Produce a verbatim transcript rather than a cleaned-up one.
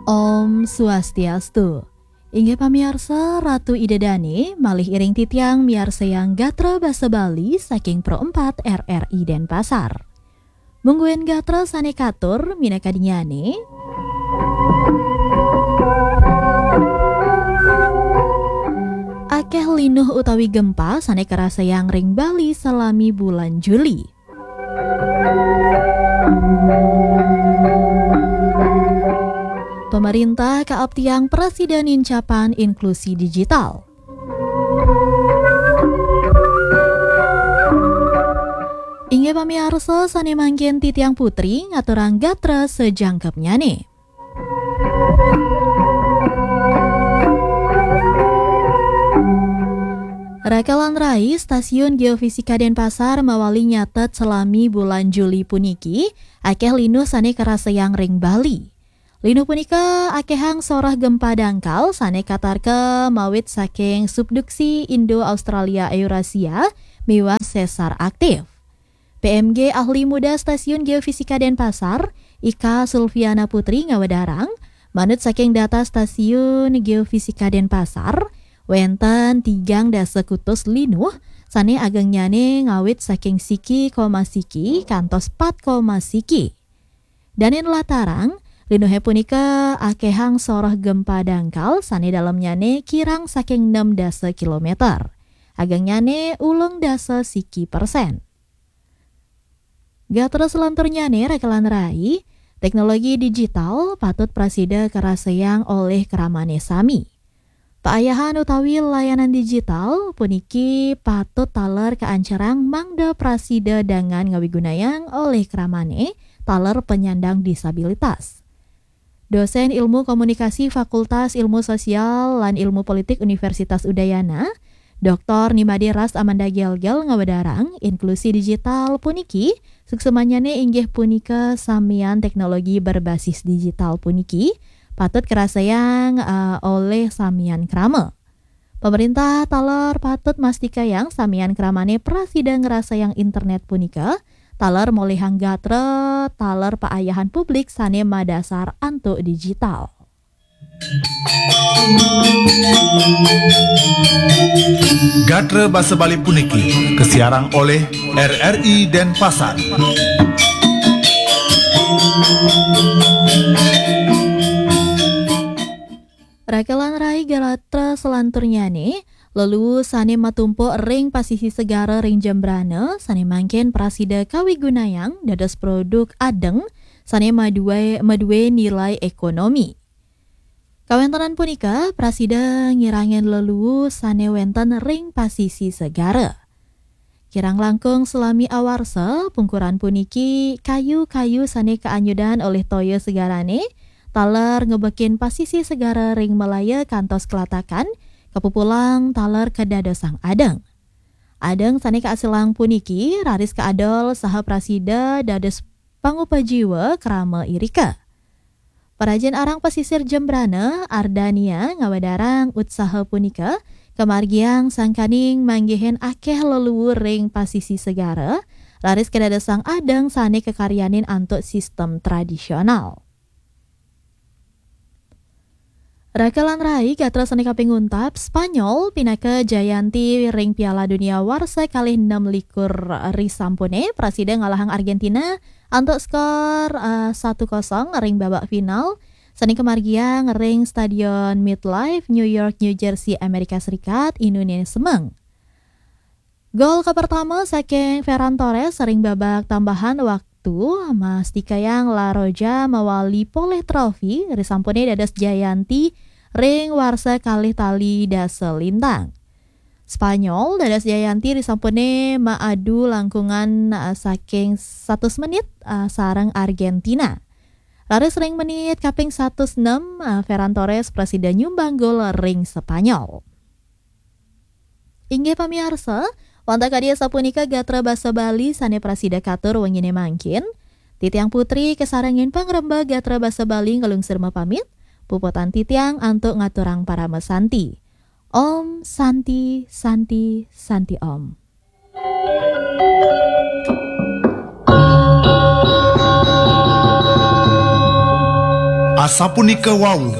Om Swastiastu. Inggih pamiarsa, Ratu Ida Dane malih iring titiang miarsayang gatra basa Bali saking Pro empat R R I Denpasar. Mungguing gatra sane katur minakadinnyane, akeh linuh utawi gempa sane karasayang ring Bali salami bulan Juli. Pemerintah kaaptiang prasida nincapan inklusi digital. Inggih pamiarsa, sane mangkin titiang Putri ngaturang gatra sajangkepnyane. Raka lan rai, Stasiun Geofisika Denpasar mawali nyatet salami bulan Juli puniki, akeh linuh sane karasayang ring Bali. Linuh punika akehang soroh gempa dangkal sane katarka mawit saking subduksi Indo-Australia-Eurasia miwah sesar aktif. P M G ahli muda Stasiun Geofisika Denpasar, Ika Sulfiana Putri ngawedarang, manut saking data Stasiun Geofisika Denpasar, wenten tigang dasa kutus linuh sane agengnyane ngawit saking siki koma siki kantos pat koma siki. Dane nlatarang, linuhe punika akehang soroh gempa dangkal sane dalemnyane kirang saking enam dasa kilometer. Agengnyane ulung dasa siki persen. Gatra salanturnyane, raka lan rai, teknologi digital patut prasida karasayang olih kramane sami. Paayahan utawi layanan digital puniki patut taler kaancerang mangda prasida dangan ngawigunayang olih kramane taler penyandang disabilitas. Dosen Ilmu Komunikasi Fakultas Ilmu Sosial lan Ilmu Politik Universitas Udayana, Doktor Nimade Ras Amanda Gelgel ngawedarang, inklusi digital puniki suksmanyane inggih punika samian teknologi berbasis digital puniki patut karasayang, eh, olih samian krama. Pemerintah taler patut mastikayang samian kramane prasida ngrasayang internet punika, taler molihang gatra, taler paayahan publik sane madasar antuk digital. Gatra basa Bali puniki kasiarang olih R R I Denpasar. Raka lan rai, gatra salanturnyane, leluu sane matumpuk ring pasisi segara ring Jembrana sane mangkin prasida kawigunayang dados produk adeng sane madue, madue nilai ekonomi. Kawentenan punika prasida ngirangin leluu sane wenten ring pasisi segara. Kirang langkung salami awarsa, pungkuran puniki kayu-kayu sane kaanyudan olih toya segarane, taler ngebekin pasisi segara ring Malaya kantos Kelatakan, kapupulang taler kadadosang adeng. Adeng sane kaasilang puniki raris kaadol saha prasida dados pangupajiwa krama irika. Parajin arang pasisir Jembrana, Ardania, ngawedarang utsaha punika kamargiang sangkaning manggihin akeh leluu ring pasisi segara, raris kadadosang adeng sane kakaryanin antuk sistem tradisional. Raka lan rai, gatra sane kaping untat, Spanyol pinaka jayanti ring Piala Dunia warsa kalih enam likur risampune, prasida ngalahang Argentina antuk skor, eh, satu kosong ring babak final, sane kamargiang ring Stadion MetLife, New York, New Jersey, Amerika Serikat, inune semeng. Gol kapertama saking Ferran Torres ring babak tambahan waktu mastikayang La Roja mawali polih trofi risampune dados jayanti ring warsa kalih tali dasa lintang. Spanyol dados jayanti risampune maadu langkungan, eh, saking satus menit, eh, sareng Argentina. Raris ring menit kaping satus enam, eh, Ferran Torres prasida nyumbang gol ring Spanyol. Inggih pamiarsa, wantah kadi asapunika gatra basa Bali sane prasida katur wengine mangkin. Titiang Putri kasarengin pangrembag gatra basa Bali nglungsur mapamit, puputang titiang antuk ngaturang parama santi. Om Santi, Santi, Santi Om. A sapu ni kawau,